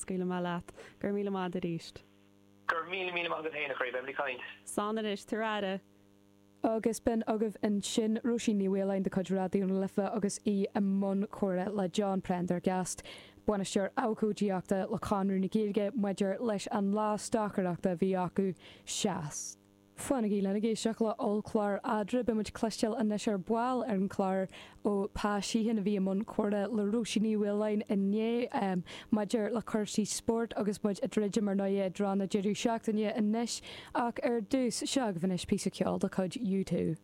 scaoilfidh mé leat. Go raibh míle maith agat arís. Go raibh míle míle maith agat féin, a chroí. Beimid ag caint. Slán anois, tabhair aire. Agus b'in agaibh ansin Róisín Ní Mhaoláin de chuid Raidió na Life agus í i mbun comhrá le John Prendergast, Bainisteoir Abhcóideachta le Conradh na Gaeilge maidir leis an lá stocaireachta a bhí acu Seas. Fanaigí linn ag éisteacht le ollchlár Eadra. Beidh muid ag cloisteáil anois ar ball ar an chlár ó Pa Sheehan a bhí i mbun comhrá le Róisín Ní Mhaoláin inné maidir le cúrsaí spóirt agus muid ag druidim ar ndóigh i dtreo na deireadh seachtaine anois. Ach ar dtús, seo agaibh anois píosa ceoil de chuid U2.